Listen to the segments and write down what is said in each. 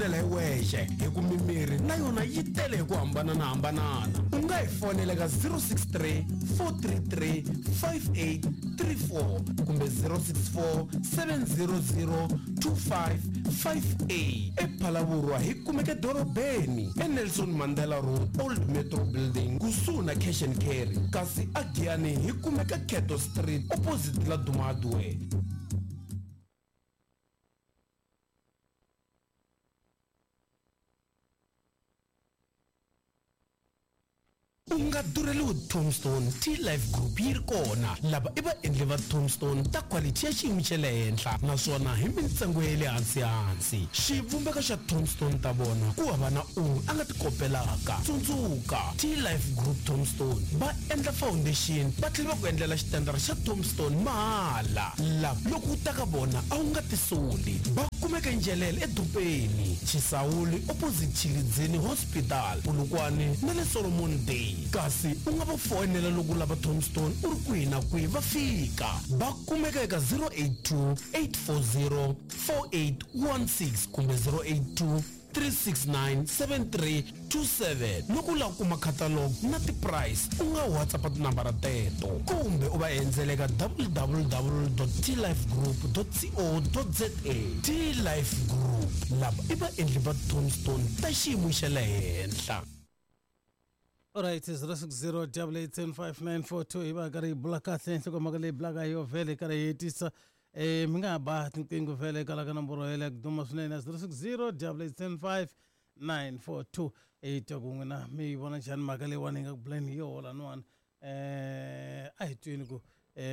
tivonela hi wexe hi ku mimirhi na yona yi tele hi ku hambananahambanana. U nga hi fonela ka 063 433 5834 kumbe 064 700 2558. EPhalaborwa hi kumeka edorobeni eNelson Mandela Road, Old Metro Building, kusuhi na Cash and Carry, kasi aGiyani hi kumeka Cato Street opposite Laduma Hardware. U nga durheliwi Tombstone T-Life Group yi ri kona. Lava i vaendli va Tombstone ta quality ya xiyimo xa le henhla naswona hi mintsengo ya le hansi-hansi. Xivumbeko xa Tombstone ta vona ku hava na un'we a nga ti kopelaka. Tsundzuka, T-Life Group Tombstone va endla foundation va tlhela va ku endlela xitendara xa Tombstone mahala. Lava loko u ta ka vona a wu nga tisoli. Va kumeka eNjelele eDopeni, Chisawuli opposite Tshilidzini Hospital, Polokwane na le Solomon Day. Kasi u nga va foyinela loko u lava Tombstone u ri kwihi na kwihi va fika. Va kumeka eka 082 840 4816 kumbe 082 369 7327. Loko u lava ku kuma catalog na ti-price u nga WhatsApp tinambara teto kumbe u va endzela eka www.tlifegroup.co.za. T-Life Group, lava i vaendli va Tombstone ta xiyimo xa le henhla. Alright, 060 887 5942 hi va hi karhi hi bula kahle nhlokomhaka leyi bulaka hi yo vhele hi karhi hi hetisa. Mi nga ha ba tinqingho vhele kwala ka nomboro yeleyo ku duma swinene ya 060 887 5942. Hi twa ku n'wina mi yi vona njhani mhaka leyiwani hi nga ku buleni hi yoho laniwani. A hi tweni ku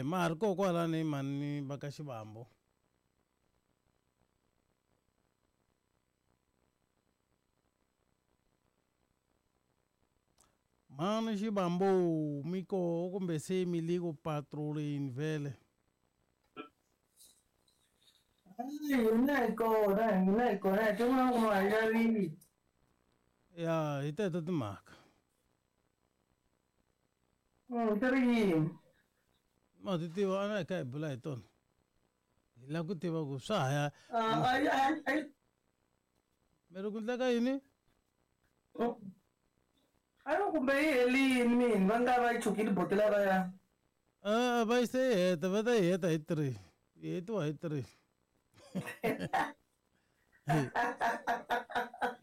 ma ha ri koho kwalani mhani va ka Xivambu. Mhani Xivambu mi koho kumbe se mi le ku patroleni vhele? Hina hi kona, hina hi kona, hi tin'wana ku ma xavile. Ya, hi teto timhaka. Ti ri yini? Ma ti tiva a na hi kha hi bula hi tona. Hi lava ku tiva ku swa ha ya. Ah, ai, ai, ai. Mi ri ku endleka yini? A yi kumbe yi helini mina, va nga va yi chukile botela va ya. Va yi se yi heta, va ta yi heta hi 3. Yi hetiwa hi 3.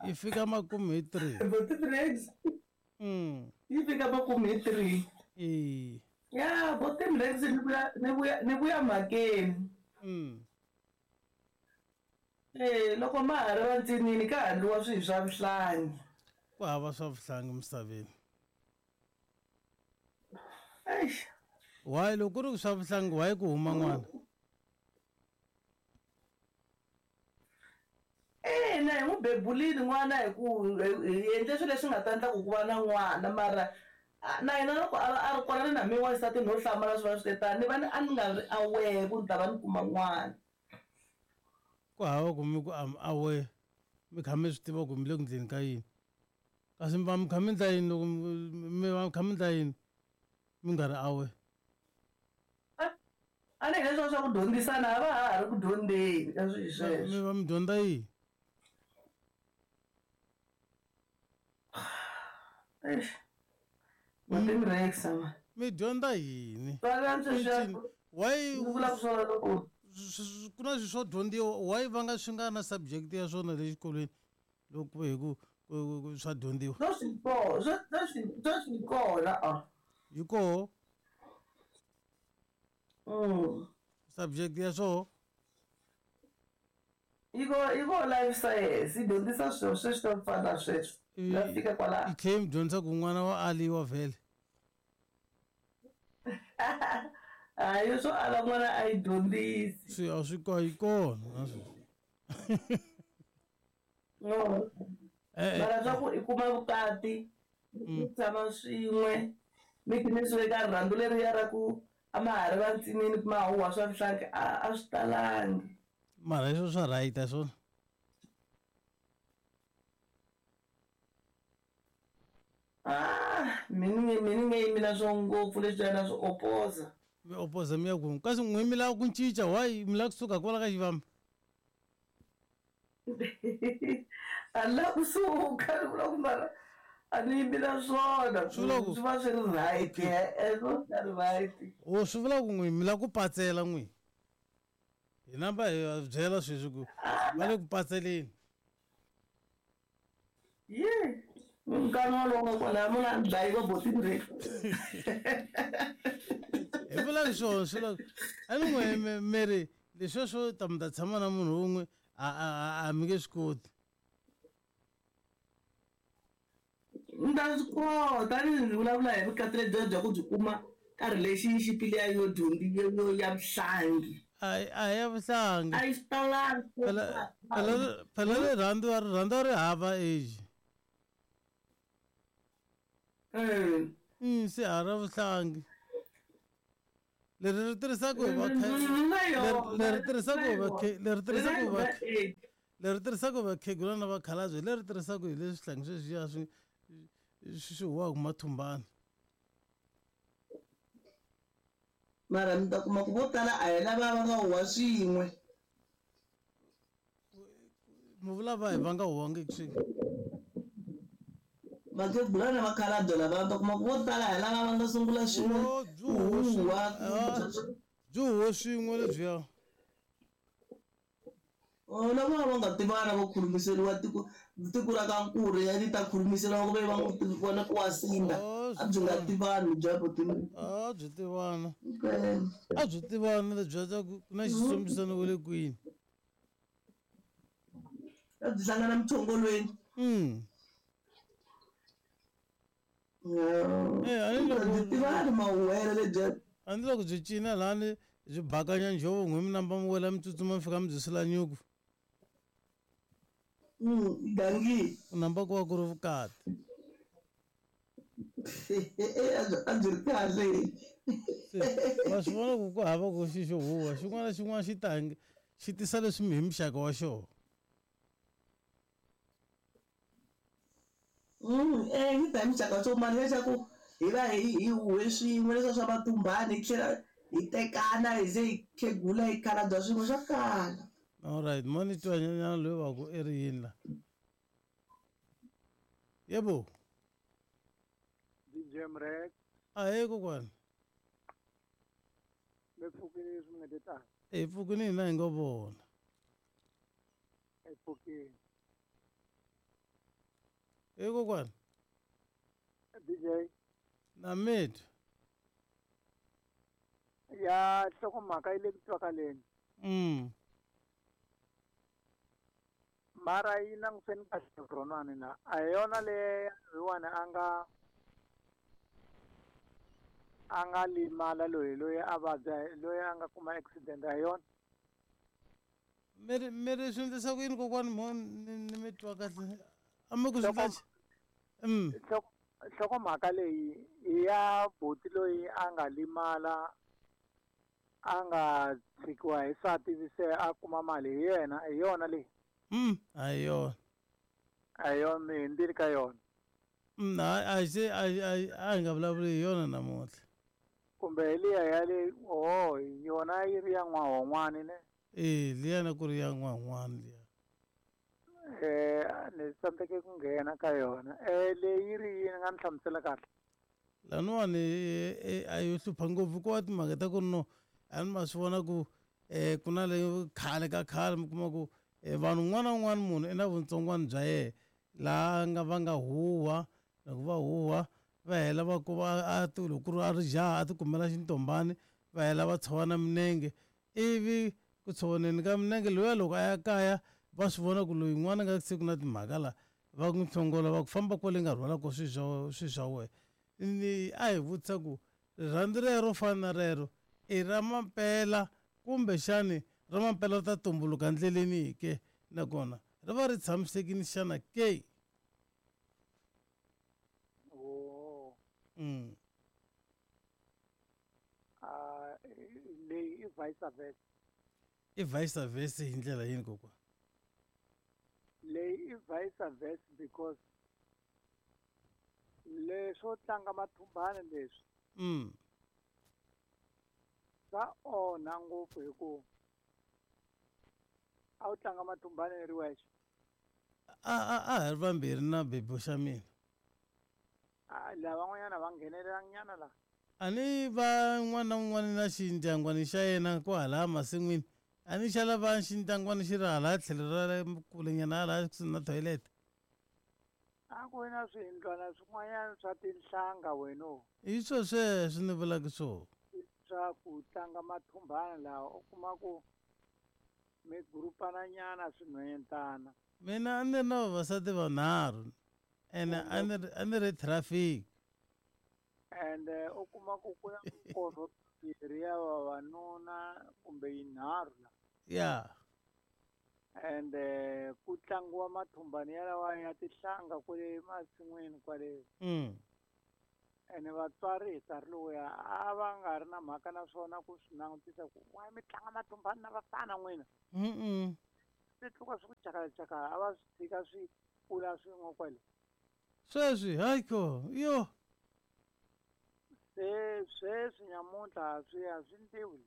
Yi fika makumu hi 3. Boti Rex. Yi fika makumu hi 3. Ya, Boti Rex ni vuya, ni vuya, ni vuya mhakeni. Loko ma ha ri vantsinini ka ha endliwa swilo swa vuhlangi. Ku hava swa vuhlangi misaveni. Eish. Why loko ku ri swa vuhlangi why ku huma n'wana? Ina, hi n'wi bebulile n'wana hi ku hi endle swilo leswi nga ta endla ku ku va na n'wana, mara na yena loko a ri kona ni na mina wansati no hlamala swi va swi te tani, ni va ni a ni nga ri aware ku ni ta va ni kuma n'wana. Ku hava ku mi ku am aware, mi kha mi swi tiva ku mi le ku endleni ka yini. Kasi mi va mi kha mi endla yini loko mi va mi kha mi endla yini mi nga ri aware? A ni leswiya swa ku dyondzisana a va ha ri ku dyondzeni ka swilo sweswo. Mi va mi dyondza yini? Eish. Boti Rex, ma. Mi dyondza yini? Tswala sweswiya Why ni vula swona loko ku na swilo swo dyondziwa, why va nga swi nga na subject ya swona le xikolweni loko hi ku swa dyondziwa? Swo swi kona, swo, swo swi, swo swi kona, a. Yi koho? Subject ya swoho? Yi ko, yi ko life science, yi dyondzisa swilo sweswi swo fana na sweswo. Ya fika kwalaho. Yi tlhela yi mi dyondzisa ku n'wana wa aliwa vhele. Hayi, swo ala n'wana a yi dyondzisi. Swi a swi ko, yi kona na sweswi. No. Mara swa ku i kuma vukati, mi tshama swin'we, mi nghenisiwe eka rirhandzu leriya ra ku a ma ha ri vantsinini ma huhwa swa vuhlangi, a swi talangi. Mara leswo swa right a swona? Mi ni nge yimi na swo ngopfu leswiya na swi opoza. Mi opoza mi ya ku kasi n'we mi lava ku cinca, why mi lava kusuka kwala ka Xivambu? A ni lavi kusuka, ni vula ku mara a ni yimi na swona. Swi vula ku- Swi va swi ri right, e swi va ri right. O swi vula ku n'wi mi lava ku patsela n'wi. Hi namba hi va byela sweswi ku va le ku patseleni. Ye, nkani wolowo nga kwalaya munhu a ni dlayi va botini re. Hi vula swona swi vula a ni n'we mi ri leswiya swo ta mi ta tshama na munhu wun'we a mi nge swi koti. Ni ta swi kota ni vulavula hi vukati lebyiya bya ku byi kuma ka relationship liya yo yo ya vuhlangi. A hi ya vuhlangi. A yi swi talangi. Phela rirhandzu a rirhandzu a ri hava age. Se a ra vuhlangi. Leri ri tirhisaka hi va leri tirhisaka hi va leri tirhisaka hi va leri tirhisaka hi vakhegula na vakhalabye, leri tirhisaka hi leswi swihlangi sweswiya swi huwaka mathumbani. Mara mi ta kuma ku vo tala a hi lava va nga huwa swin'we. Mi vula va hi va nga huwangiki swin'we? Vakhegula na vakhalabye lava va ta kuma ku vo tala hi lava va nga sungula swin'we. Oh, byi huwe swin'we. Ah, byi huwe swin'we lebyiya. Oh, lava va nga tivana vo khulumiseriwa tiko ra ka Nkuri ya ti ta khulumiseriwa ku ve va n'wi vona ku wa sinda. Oh, A byi nga tivani bya botini. A byi tivana. Okay. A byi tivana lebyiya ta ku na xitsombisano wa le kwini. A byi hlangana mithongolweni. Eh, a ni loko Byi tivani mahuwelo lebyiya. A ni loko byi cina lani byi bakanya njhovo n'we mi namba mi wela mi tsutsuma mi fika mi byi sula nyuku. Gangi. Ku namba ku va ku ri vukati. A byi ri kahle. Wa swi vona ku ku hava ku xi xo huwa xin'wana na xin'wana xi tangi xi tisa leswi hi muxaka wa xona. Yi ta hi muxaka wa xona mara leswaku hi va hi huwe swin'we leswiya swa matumbani hi tlhela hi tekana hi ze hi khegula hi khalabya swin'we swa kala. All right, mo ni twa nyana loyi wa ku i ri yini la? Yebo. DJ Mrek. Ahee kokwana. Mi pfukile leswi mi nga te tani. Hi pfukile hina hi ngo vona. Hi pfukile. Hey kokwana. DJ. Na mitwa. Ya nhlokomhaka yi le ku twakaleni. Mara yi languseni kahle ronani la. A hi yona leyi loyiwani a nga limala loyi a vabya, loyi a nga kuma accident, a hi yona? Mi ri swi endlisa ku yini kokwani mo ni mi twa kahle? A mi ku swi endla Nhlokomhaka leyi i ya buti loyi a nga limala, a nga tshikiwa hi nsati ivi se a kuma mali hi yena, hi yona leyi? A hi yona. A hi yona, mi hundzile ka yona. A se, a, a, a hi nga vulavuli hi yona namuntlha. Kumbe hi liya ya le, oh, yona yi ri ya n'wahon'wani ne? Eh, liya na ku ri ya n'wahon'wani liya. Ni tsandzeke ku nghena ka yona. Leyi yi ri yini, nga ni hlamusela kahle? Laniwani, a yo hlupha ngopfu ku va timhaka ta ku ri no, a ni ma swi vona ku, ku na le khale ka khale mi kuma ku, vanhu un'wana na un'wana munhu i na vutsongwana bya yena laha nga va nga huwa, loko va huwa va hela va ku va a ti loko ku ri a ri jaha a ti kumela xintombani va hela va tshovana minenge, ivi ku tshovaneni ka minenge loyiya loko a ya kaya va swi vona ku loyi n'wana nga se ku na timhaka la va n'wi hlongola va ku famba kwale nga rhwala ko swi swa wena. Ni a hi vutisa ku rirhandzu rero fana na rero i ra mampela kumbexani ra mampela ri ta tumbuluka ndleleni ke, nakona ri va ri tshamisekile xana ke? Oh. Leyi i vice versa. I vice versa hi ndlela yini kokwana? Leyi i vice versa because leswo tlanga mathumbani leswi. Swa onha ngopfu hi ku a wu tlanga mathumbani ri wexe. A a a hi ri vambirhi na bebo xa mina. A lavan'wanyana va nghenelelanyana la. A ni va n'wana na un'wana na xindyangwani xa yena kwahala masin'wini. A ni xa lava xindyangwani xi ri hala tlhelo ra le kulenyana hala kusuhi na toilet. A ku ri na swiyindlwana swin'wanyana swa tinhlanga weno. Hi swo sweswo ni vulaka swona. Swa ku tlanga mathumbana laha u kuma ku mi gurupananyana swinhwanyetana. Mina a ni ri na vavasati vanharhu ene a ni ri a ni ri traffic. Ende u kuma ku ku na minkorho mimbirhi ya vavanuna kumbe yinharhu la. Ya. Ende ku tlangiwa mathumbani yalawa ya tinhlanga kwale masin'wini kwale. Ene vatswari hi nkarhi lowuya a va nga ri na mhaka na swona ku swi langutisa ku why mi tlanga mathumbani na vafana n'wina. Swi tluka swi ku cakalacakala a va swi tshika swi kula swin'we kwale. Sweswi hayi ko yo. Se sweswi nyamuntlha swi a swi ndliwi.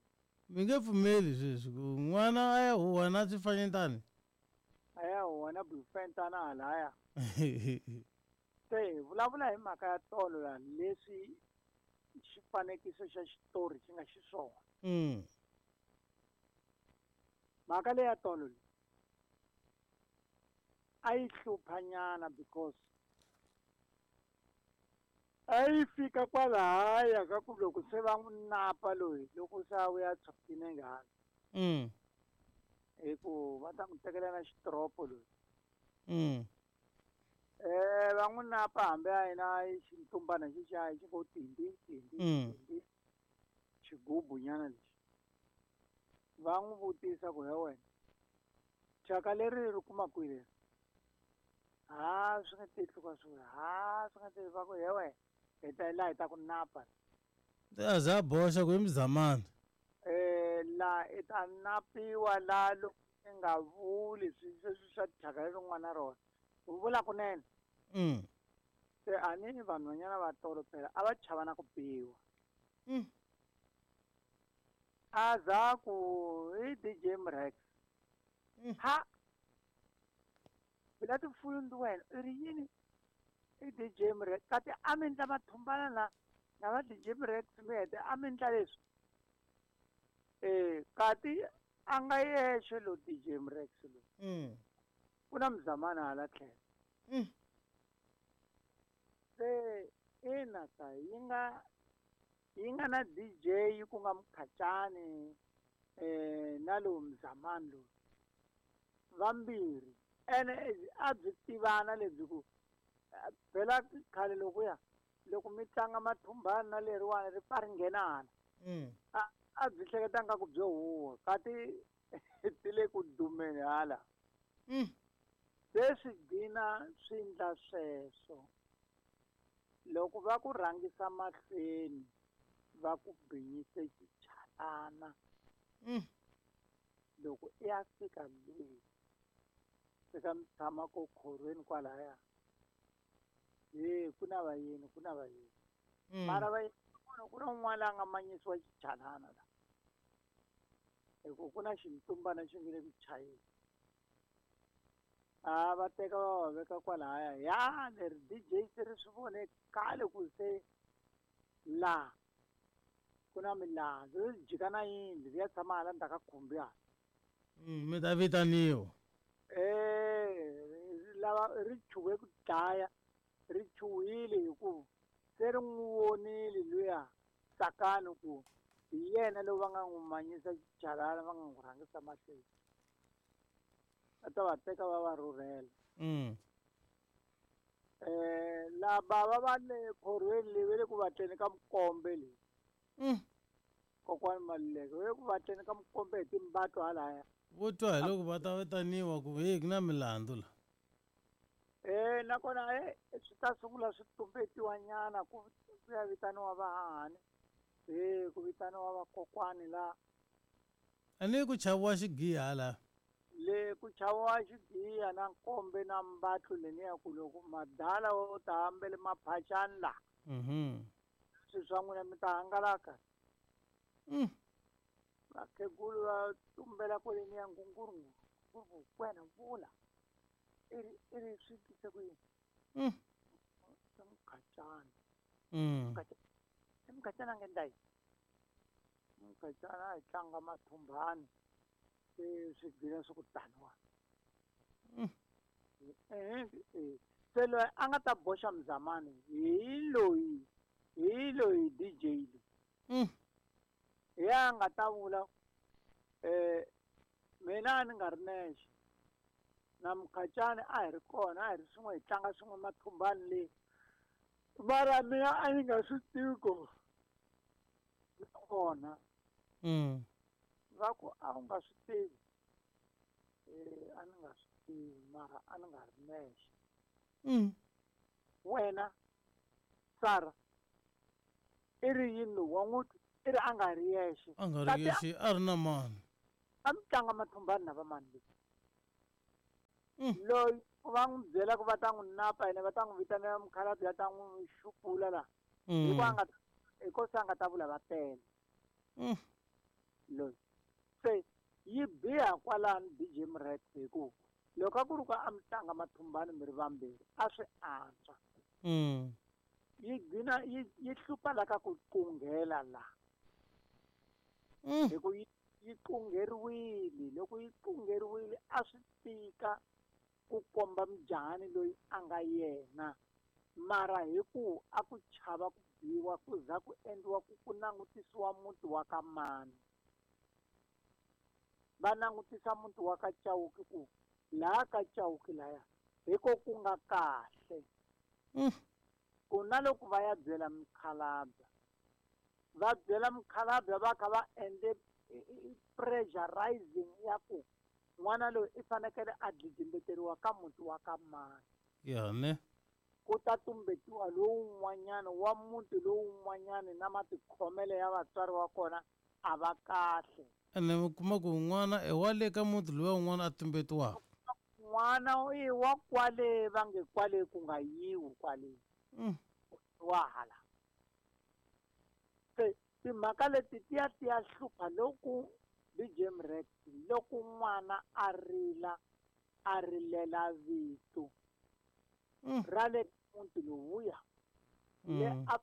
Mi nge pfumeli sweswi ku n'wana a ya huhwa na swifanyetana. A ya huhwa na bufentana halaya. Se hi vulavula hi mhaka ya tolo la leswi xifanekiso xa xitori xi nga xiswona. Mhaka leya tolo leyi a yi hluphanyana because a yi fika kwalahaya ka ku loko se va n'wi napa loyi loko se a vuya tshwatini nghala. Hi ku va ta n'wi tekela na xitropo loyi. Va n'wi napa hambi a yena xintumbana xexiya xi ngo tindi tindi tindi xigubu nyana lexi. Va n'wi vutisa ku he wena thyaka leri ri kuma kwihi leri? Ha swi nga titluka swi ha swi nga ti va ku he wena hi ta laha hi ta ku napa. A za boxa ku i muzamana. La i ta napiwa la loko i nga vuli sweswi swa thyaka leri n'wana rona. U vula kunene. Se a ni vanhwanyana va tolo phela a va chava na ku biwa. A za ku i DJ Mrex. Ha phela tifuyu ndi wena i ri yini i DJ Mrex kati a mi ndla mathumbana na na va DJ Mrex mi hete a mi ndla leswi. Kati a nga yexe lo DJ Mrex lo. Ku na muzamana hala tlhelo. Se ina ka yi nga na DJ ku nga Mukhacani na lowu muzamani lowu vambirhi ene a byi tivana lebyi ku phela khale lokuya loko mi tlanga mathumbani na leriwani ri pfa ri nghena hala. A byi hleketa nga ku byo huwa kati ti le ku dumeni hala. Se swi gcina swi ndla sweswo loko va ku rhangisa mahlweni va ku binyise xichalana. Loko i ya fika le fika mi tshama ko khorweni kwalaya he ku na vayeni ku na vayeni. Mara vayeni ku na un'wana la nga manyisiwa xichalana la hi ku ku na xintumbana xi nge le ku chayeni. A va teka va va veka kwalaya ya leri DJ se ri swi vone khale ku se la ku na milandzu ri jika na yindlu ri ya tshama hala ndzhaku ka khumbi hala. Mi ta vitaniwa. Lava ri chuhe ku dlaya ri chuhile hi ku se ri n'wi vonile luya Tsakani ku hi yena loyi va nga n'wi manyisa xichalana va nga n'wi rhangisa mahlweni. Va ta va teka va va rhurhela. Lava va va le khorweni leyi va le ku vatleni ka Mukombe leyi. Kokwani Maluleke va le ku vatleni ka Mukombe hi timbato halaya. Vo twa hi loko va ta vitaniwa ku hey ku na milandzu la. Nakona swi ta sungula swi tumbetiwa nyana ku ya vitaniwa vahahani. Ku vitaniwa vakokwani la. A ni ku chaviwa xigiya hala. Le ku chaviwa xigiya na nkombe na mbatlu leniya ku loko madala wo ta ambele maphaxani la. Swilo swa n'wina mi ta hangalaka. Vakhegulu va tumbela kwaleniya ngunguru ngunguru wena vula. I ri swi tise ku yini? I Mukhacani. I Mukhacani a nga endla yini? Mukhacani a hi tlanga mathumbani, se swi gcina swi ku taniwa. Se loyi a nga ta boxa Mzamani hi loyi DJ loyi. Hi ya nga ta vula mina a ni nga ri nexe na Mukhacani a hi ri kona, a hi ri swin'we hi tlanga swin'we mathumbani leyi, mara mina a ni nga swi tivi ku kona. Va ku a wu nga swi tivi. A ni nga swi tivi, mara a ni nga ri nexe. Wena Sara i ri yini lowu wa n'wi twa? I ri a nga ri yexe. A nga ri yexe, a ri na mani. A mi tlanga mathumbani na va mani leyi? Loyi va n'wi byela ku va ta n'wi napa yena, va ta n'wi vitanela mukhalabye a ta n'wi xupula la. Hikuva se a nga ta vula va tele. Loyi se yi biha kwalano DJ Mrex, hi ku loko a ku ri ku a mi tlanga mathumbani mi ri vambirhi a swi antswa. Yi gcina yi hlupha la ka ku qunghela la. Hi ku yi qungheriwile, loko yi qungheriwile a swi tika ku komba mujahani loyi a nga yena, mara hi ku a ku chava ku biwa ku za ku endliwa ku langutisiwa muti wa ka mani. Va langutisa muti wa ka Chauke ku laha ka Chauke laya hi ko ku nga kahle. Ku na loko va ya byela mukhalabye, va byela mukhalabye va kha va endle pressurizing ya ku n'wana loyi i fanekele a dlidlimbeteriwa ka muti wa ka mani. Ya ne. Ku ta tumbetiwa lowun'wanyana wa muti lowun'wanyana na matikhomelo ya vatswari wa kona a va kahle. Ene mi kuma ku n'wana i wa le ka muti luwa un'wana a tumbetiwaka. N'wana i wa kwale va nge kwale ku nga yiwi kwale. Wa hala. Se timhaka leti ti ya ti ya hlupha loko DJ Mrex, loko n'wana a rila a rilela vito ra le muti lowuya le a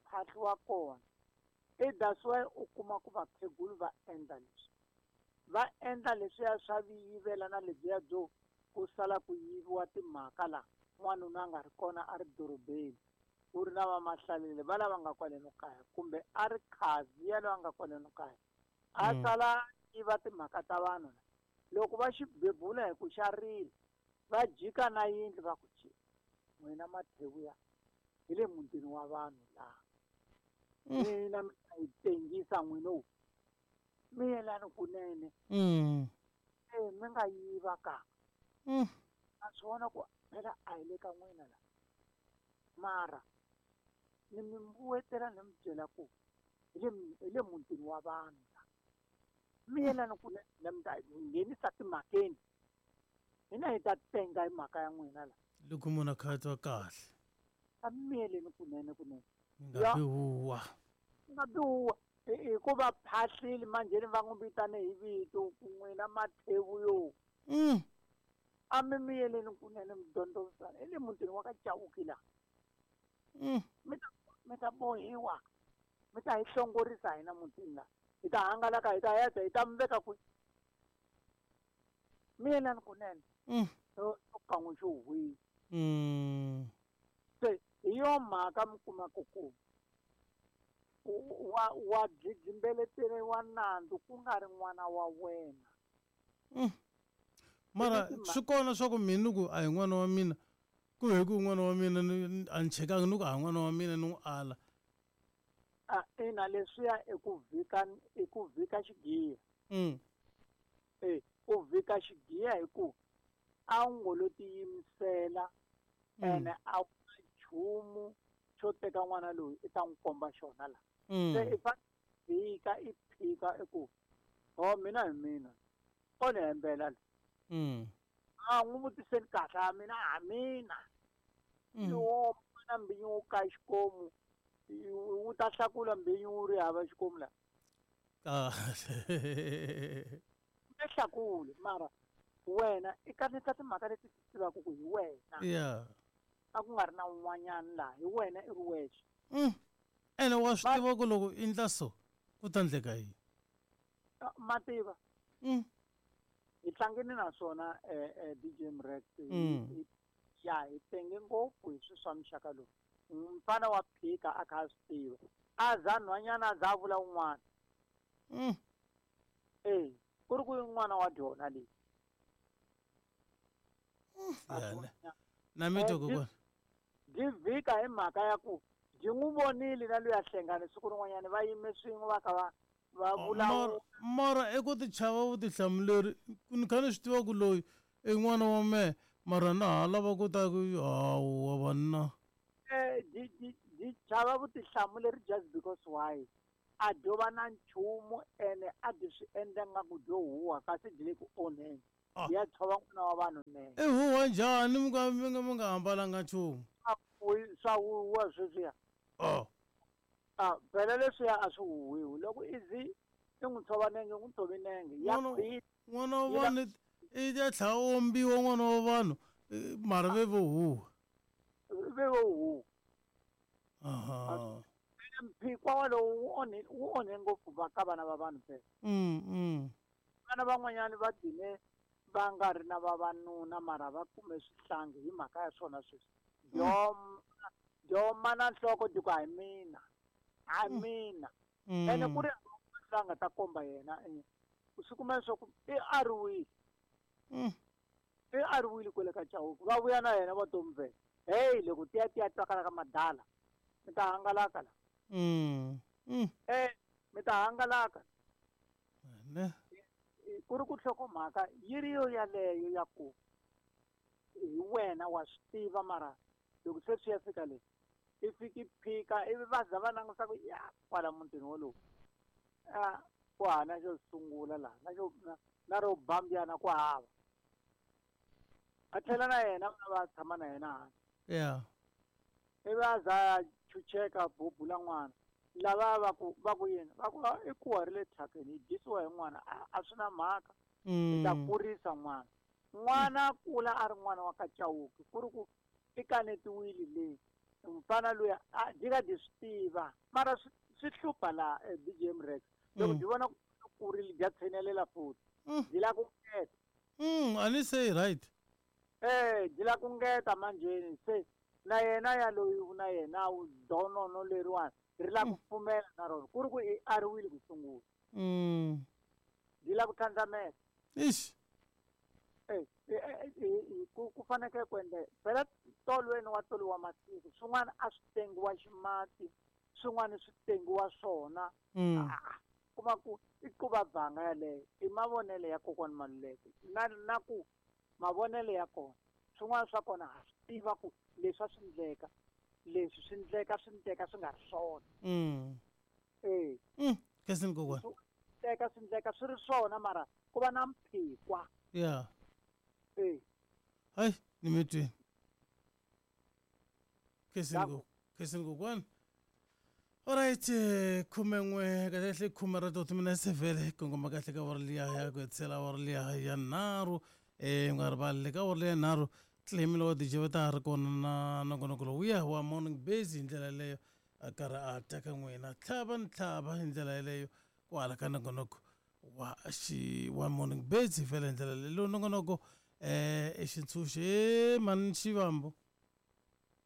phahliwa kona. I that's why u kuma ku vakhegulu va endla leswi, va endla leswiya swa viyivela na lebyiya byo ku sala ku yiviwa timhaka la n'wanuna a nga ri kona a ri dorobeni, ku ri na vamahlalele va lava nga kwaleno kaya, kumbe a ri khazi ya loyi a nga kwaleno kaya, a sala yiva timhaka ta vanhu. Loko va xi bebula hi ku xa rila, va jika na yindlu va ku ci n'wina mathewuya hi le mutini wa vanhu laha. Mina mi ta yi tengisa n'wina, mi yelani kunene. Mi nga yiva ka. A swi vona ku phela a hi le ka n'wina la. Mara ni mi mbuwetela ni mi byela ku hi le mutini wa vanhu la. Mi yelani kunene, mi ta nghenisa timhakeni. Hina hi ta tenga hi mhaka ya n'wina la. Loko munhu a kha a twa kahle. A mi yeleni kunene kunene. Nga bihuwa. Nga bihuwa. Hikuva phahlile manjheni va n'wi vitane hi vito ku n'wina mathewu yo. A mi miyeleni kunene mi dyondzisana hi le mutini wa ka Chauke la. Mi ta bohiwa. Mi ta hi hlongorisa hina mutini la. Hi ta hangalaka, hi ta heta, hi ta mi veka kwihi. Miyelani kunene. Kan'we xo hwihi. Se hi yo mhaka mi kuma ku ku wa dlidlimbeleteriwa nandzu ku nga ri n'wana wa wena. Mara swi kona swa ku mina ku a hi n'wana wa mina, ku hi ku n'wana wa mina a ni chekanga ni ku a hi n'wana wa mina ni n'wi ala. Ina leswiya i ku vhika xigiya. U vhika xigiya hi ku a wu ngo lo tiyimisela ene a wu na nchumu xo teka n'wana loyi i ta n'wi komba xona la. Se i vhika i phika i ku ho mina hi mina o ni hembela la. A n'wi vutiseni kahle a mina a mina. Yo na mbinyu wo ka xikomu wu ta hlakula mbinyu wu ri hava xikomu la. Kahle. Nge hlakuli mara Wena i kaneta timhaka leti ti tivaka ku hi wena. Yeah. A ku nga ri na un'wanyana laha, hi wena i ri wexe. Ene wa swi tiva ku loko i ndla so ku ta ndleka yini? Ma tiva. Hi tlangini na swona DJ Mrex. Ya hi tenge ngopfu hi swilo swa muxaka lowu. Mfana wa phika a kha a swi tiva. A za nhwanyana a za a vula un'wana. Eh, ku ri ku n'wana wa dyona leyi. Na mi twa kokwana. Byi vhika hi mhaka ya ku byi n'wi vonile na luya Hlengani siku rin'wanyana va yime swin'we va kha va va vulavula. Mara i ku tichava vutihlamuleri ni kha ni swi tiva ku loyi i n'wana wa mehe mara na ha lava ku ta ku hawa vanna. Byi byi byi chava vutihlamuleri just because why a dyo va na nchumu ene a byi swi endla nga ku dyo huha kasi byi le ku onheni. Byi ya tshova n'wana wa vanhu nenge. I huhwa njhani mi nga mi nga mi nga ambalanga nchumu? Swa huhwa sweswiya. A phela leswiya a swi huhwiwi loko i zi i n'wi tshova nenge u n'wi tshovi nenge ya khwiri. N'wana wa vanhu i ya tlhela a ombiwa n'wana wa vanhu mara ve vo huhwa. Ve vo huhwa. Mphikwa walowo wu onhe wu onhe ngopfu va ka vana va vanhu phela. Vana van'wanyana va gcine va nga ri na vavanuna mara va kume swihlangi hi mhaka ya swona sweswi. Dyoma na nhloko dyi ku a hi mina, a hi mina. Ene ku ri hava un'wana loyi a nga ta komba yena u swi kuma leswaku i ariwile. I ariwile kwale ka Chauke va vuya na yena va to mve heyi loko ti ya ti ya twakala ka madala mi ta hangalaka la. Mi ta hangalaka. Ne. Ku ri ku nhlokomhaka yi ri yo yaleyo ya ku hi wena wa swi tiva mara loko se swi ya fika le i fiki phika ivi va za va languta ku ya kwala mutini wolowo a ku hava na xo sungula laha na xo na ro bambyana ku hava a tlhela na yena va tshama na yena hansi yeah ivi a za a chucheka bubula n'wana lava va ku va ku yini va ku i kuwa ri le thyakeni hi dyisiwa hi n'wana a swi na mhaka hi ta kurisa n'wana n'wana a kula a ri n'wana wa ka Chauke ku ri ku i kanetiwile le mfana luya a dyi ka dyi swi tiva mara swi hlupha laha DJ Mrex loko dyi vona ku kurile dya tshinelela futhi dyi lava ku ngeta. A ni se right. Eh dyi lava ku ngeta manjheni se na yena yaloyi na yena donono leriwani ri lava ku pfumela na rona ku ri ku i ariwile ku sungula. Dyi lava ku tlhandlamela. Ixi. Ku fanekele ku endla phela tolweni wa toliwa masiku swin'wana a swi tengiwa ximati swin'wana swi tengiwa swona kuma ku i quva banga yaleyo i mavonelo ya kokwani Maluleke na na ku mavonelo ya kona swin'wana swa kona ha swi tiva ku leswi a swi ndleka leswi swi ndleka swi ndleka swi nga ri swona. Eh. Khensani kokwani. Teka swi ndleka swi ri swona mara ku va na mphikwa. Yeah. Eh. Hayi ni mi twini. Khensani ko Khensani kokwani. Alright, 11 kahle kahle khume ra to timinetse vhele kongoma kahle ka awara liya ya ku hetisela awara liya ya nharhu um nga rivali le ka awara liya ya nharhu Clemilo wa DJ va ta ha ri kona na nongonoko lowuya wa morning base hi ndlela yeleyo a karhi a teka n'wina tlhava ni tlhava hi ndlela yeleyo kwala ka nongonoko wa xi wa morning base hi fela hi ndlela leyi lowu nongonoko um i xintshunxo e mani xivambu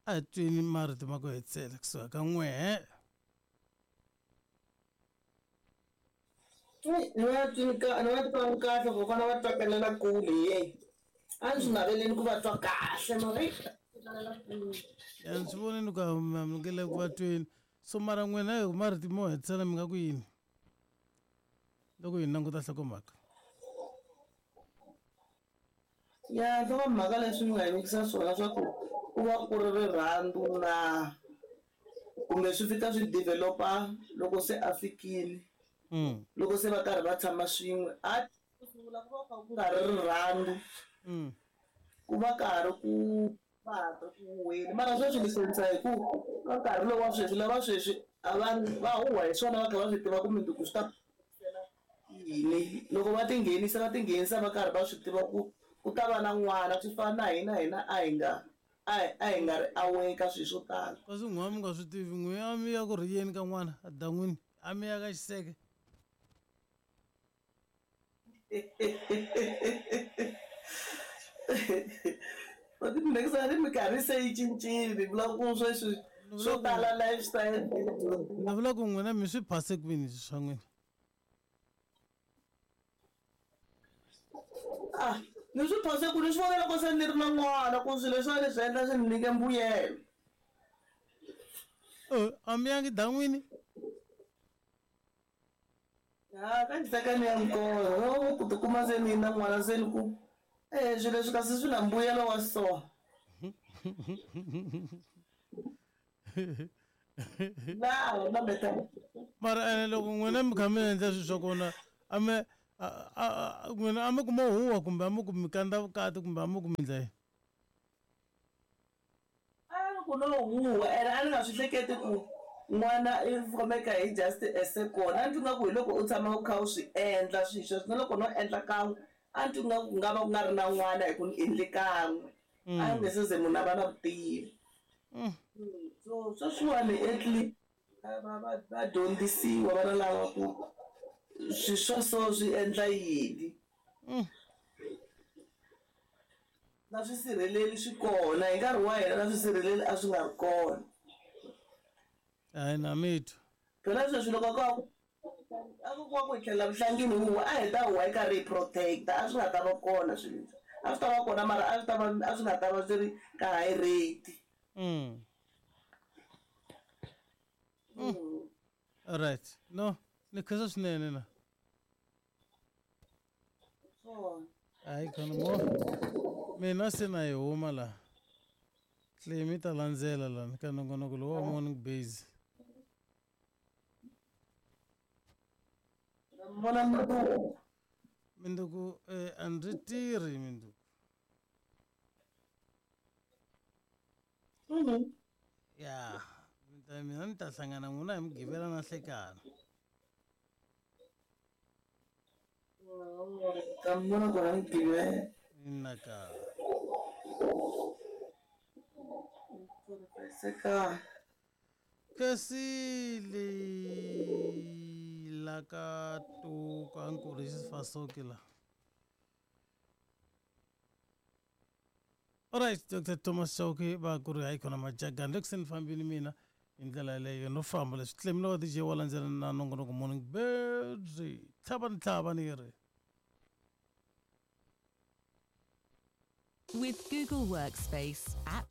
a hi twini marito ma ku hetisela kusuka ka n'wehe. Ni va twi ni va twangi kahle kokwana va twakalela kule ye a ni swi naveleni ku va twa kahle mara eyi twakalela kule. Ya ni swi vonile ku a mi nge le ku va tweni so mara n'wina hi marito mo hetisela mi nga ku yini loko hi languta nhlokomhaka. Ya nhlokomhaka leswi mi nga hi nyikisa swona swa ku ku va ku ri rirhandzu na kumbe swi fika swi develop-a loko se a fikile loko se va karhi va tshama swin'we a ku sungula ku va ku kha ku nga ri rirhandzu ku va ka ha ri ku va ha ri ku huhweni mara sweswi ni hlekisa hi ku ka nkarhi lowu wa sweswi lava sweswi a va va huhwa hi swona va kha va swi tiva ku mundzuku swi ta yini loko va tinghenisa va tinghenisa va karhi va swi tiva ku. ku ta va na n'wana swi fana na hina hina a hi nga a hi nga ri aware ka swilo swo tala. Kasi n'we a mi nga swi tivi n'we a mi ya ku rhiyeni ka n'wana a dan'wini a mi ya ka xiseke. Next minkarhi se yi cincile ni vula ku sweswi swo tala lifestyle. Ni vula ku n'wina mi swi phase kwini swa n'wina? Ah, ni swi phase ku ni swi vona loko se ni ri na n'wana ku swilo leswiwa ni swi endla swi ni nyike mbuyelo. A mi yangi dan'wini? Ha ka ndzi ni ya nkolo loko ku tikuma se ni na n'wana se ni ku swilo leswi kasi swi na mbuyelo wa so. Na na beta. Mara ene loko n'wina mi kha mi endla swilo swa kona a mi n'wina a mi kuma huwa kumbe a mi ku mi kandza vukati kumbe a mi ku mi endla yini? A ni ku no huwa ene a ni nga swi hleketi ku n'wana i fomeka hi just a second. A ni twi nga ku hi loko u tshama u kha u swi endla swilo sweswo na loko no endla kan'we a ni twi nga ku nga va ku nga ri na n'wana hi ku ni endle kan'we. A ni nge se ze munhu a va na vutivi. So sweswiwani at least va dyondzisiwa vana lava ku swilo swa so swi endla yini. Na swisirheleli swi kona hi nkarhi wa hina na swisirheleli a swi nga ri kona. Hayi na mitwa. Phela sweswi loko a ku ku hi tlhelela vuhlangini huwa a hi ta huwa yi karhi hi protect-a a swi nga ta va kona swilo leswi. A swi ta va kona mara a swi ta va a swi nga ta va swi ri ka high rate. All right. No, ni khensa swinene na. Hayi khona mo. Mina se na yi huma laha. Tlemi ta landzela lani ka nongonoko lowu wa morning base. Vona mundzuku. Minduku a ndzi tirhi minduku. Ya, mina ni ta hlangana n'wina hi Mugqivela na nhlekani. Ta mi vona kona Mugqivela. Innaka. Seka. Kasi le la ka to ka nkurisi fasoki la. Alright, Dr. Thomas Chauke va ku ri hayi khona majagani loko se ni fambile mina hi ndlela yeleyo no famba leswi tlemi wa DJ wa landzela na nongonoko morning birds tlhava ni tlhava ni ri. With Google Workspace app.